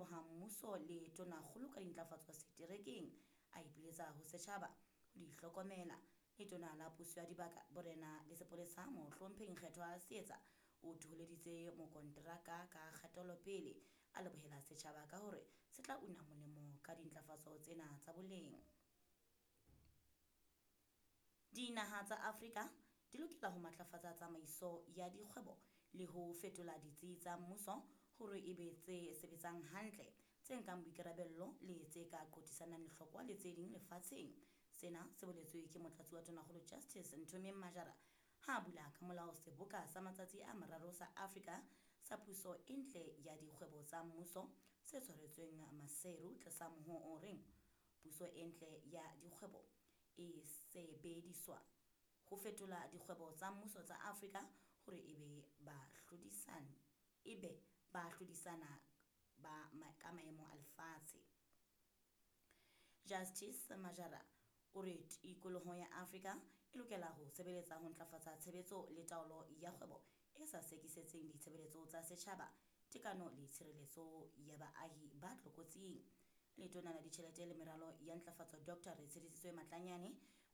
leboha mmuso le tonakgolo ka dintlafatso seterekeng, a ipiletsa ho setjhaba ho di hlokomela. Letona la Puso ya Dibaka, Borena le Sepolesa, Mohlomphehi Nkgethwa Seetsa o thoholeditse mokonteraka ka kgatelopele, a lebohela setjhaba ka hore se tla una molemo ka dintlafatso tsena tsa boleng. Dinaha tsa Afrika di lokela ho matlafatsa tsamaiso ya dikgwebo le ho fetola ditsi tsa mmuso hore e be tse sebetsang hantle, tse nkang boikarabello le tse ka qothisanang lehlokwa le tse ding lefatsheng. Sena se boletswe ke Motlatsi wa Tonakgolo Justice Nthomeng Majara ha a bula ka molao seboka sa matsatsi a mararo sa Afrika sa puso e ntle ya dikgwebo tsa mmuso se tshwaretsweng Maseru tlasa mohoo o reng Puso e ntle ya dikgwebo e sebediswa ho fetola dikgwebo tsa mmuso tsa Afrika hore e be bahlodisani e be ba hlodisana ba ka maemo a lefatshe. Justice Majara o re tikoloho ya Afrika e lokela ho sebeletsa ho ntlafatsa tshebetso le taolo ya kgwebo e sa sekisetseng ditshebeletso tsa setjhaba, tekano le tshireletso ya baahi ba tlokotsing. Letona la Ditjhelete le Meralo ya Ntlafatso Doctor Retshedisitswe Matlanyane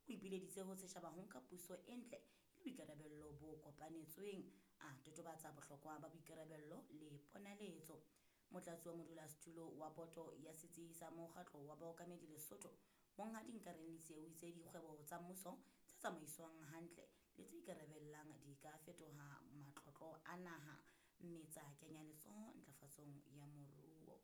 o ipileditse ho setjhaba ho nka puso e ntle e le boikarabello bo kopanetsweng, a totobatsa bohlokwa ba boikarabello le ponaletso. Motlatsi wa modulasetulo wa boto ya setsi sa mokgatlo wa baokamedi Lesotho, Monghadi Nkareng Letsie o itse dikgwebo tsa mmuso tse tsamaiswang hantle le tse ikarabellang di ka fetoha matlotlo a naha mme tsa kenya letsoho ntlafatsong ya moruo.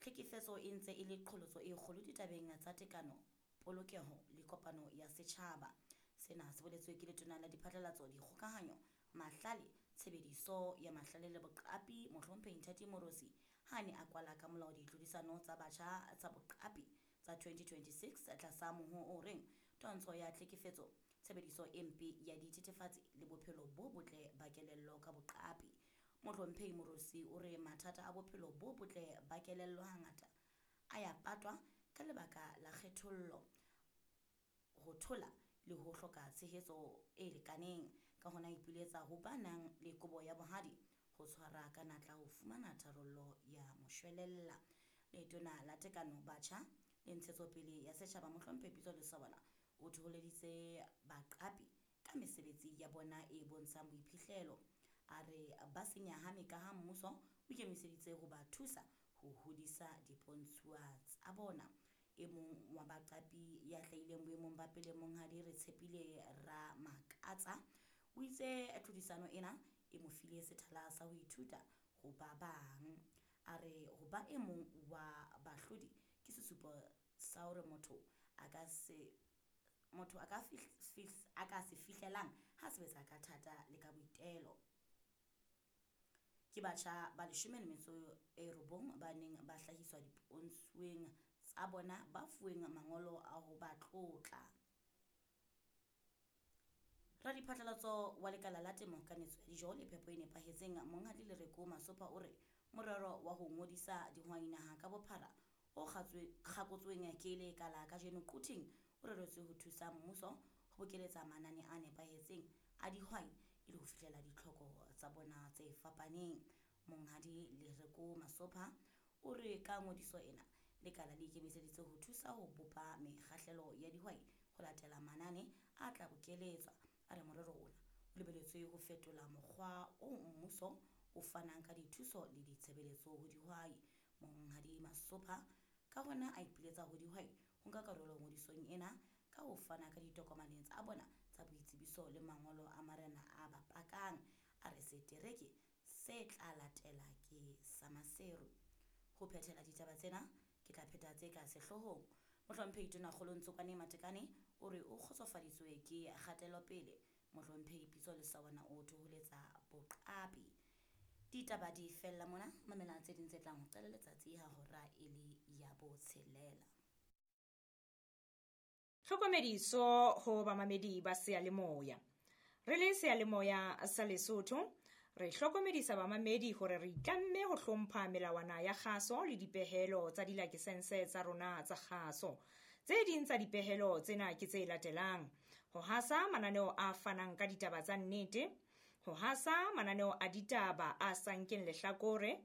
Tlhekefetso e ntse e le qholotso e kgolo ditabeng tsa tekano, polokeho le kopano ya setjhaba. Sena se boletswe ke Letona la Diphatlalatso, Dikgokahanyo, Mahlale, Tshebediso ya Mahlale le Boqapi, Mohlomphehi Nthati Moorosi ha a ne a kwala ka molao ditlhodisano tsa batjha tsa boqapi tsa 2026 tlasa mohoo o reng Twantsho ya Tlhekefetso, Tshebediso e Mpe ya Dithethefatsi le Bophelo bo Botle ba Kelello ka Boqapi. Mohlomphehi Moorosi o re mathata a bophelo bo botle ba kelello hangata a ya patwa ka lebaka la kgethollo, ho thola le ho hloka tshehetso e lekaneng. Ka hona a ipiletsa ho ba nang le kobo ya bohadi ho tshwara ka natla ho fumana tharollo ya moshwelella. Letona la Tekano, Batjha le Ntshetsopele ya Setjhaba Mohlomphehi Pitso Lesobana o thoholeditse baqapi ka mesebetsi ya bona e bontshang boiphihlelo. A re ba se nyahame kaha mmuso o ikemiseditse ho ba thusa ho hodisa dipontshuwa tsa bona. E mong wa baqapi ya hlahileng boemong ba pele Monghadi Retshepile Ramakatsa o itse tlhodisano ena e mo file sethala sa ho ithuta ho ba bang. A re ho ba e mong wa bahlodi ke sesupo sa hore motho a ka se motho a ka a ka se fihlelang ha sebetsa ka thata le ka boitelo. Ke batjha ba 19 ba neng ba hlahiswa dipontshuweng tsa bona ba fuweng mangolo a ho ba tlotla. Radiphatlalatso wa lekala la temo, kanetso ya dijo le phepo e nepahetseng, Monghadi Lereko Masopha o re morero wa ho ngodisa dihwai naha ka bophara o kgakotsweng ke lekala kajeno Quthing o reretswe ho thusa mmuso ho bokeletsa manane a nepahetseng a dihwai e le ho fihlela ditlhoko tsa bona tse fapaneng. Monghadi Lereko Masopha o re ka ngodiso ena, lekala le ikemiseditse ho thusa ho bopa mekgahlelo ya dihwai ho latela manane a tla bokeletswa. A re morero ona o lebeletswe ho fetola mokgwa oo mmuso o fanang ka dithuso le ditshebeletso ho dihwai. Monghadi Masopha ka hona a ipiletsa ho dihwai ho nka karolo ngodisong ena ka ho fana ka ditokomane tsa bona tsa boitsebiso le mangolo a marena a ba pakang. A re setereke se tla latela ke sa Maseru. Ho phethela ditaba tsena, ke tla pheta tse ka sehloohong. Mohlomphehi Tonakgolo Ntsokwane Matekane o re o kgotsofaditswe ke kgatelopele. Mohlomphehi Pitso Lesawana o thoholetsa boqapi. Ditaba di fella mona, mamela tse ding tse tlang ho qala letsatsi ha hora e le ya botshelela. Tlhokomediso ho bamamedi ba seyalemoya. Re le seyalemoya sa Lesotho, re hlokomedisa bamamedi hore re itlamme ho hlompha melawana ya kgaso le dipehelo tsa dilakesense tsa rona tsa kgaso. Tse ding tsa dipehelo tsena ke tse latelang: ho hasa mananeo a fanang ka ditaba tsa nnete, ho hasa mananeo a ditaba a sa nkeng lehlakore,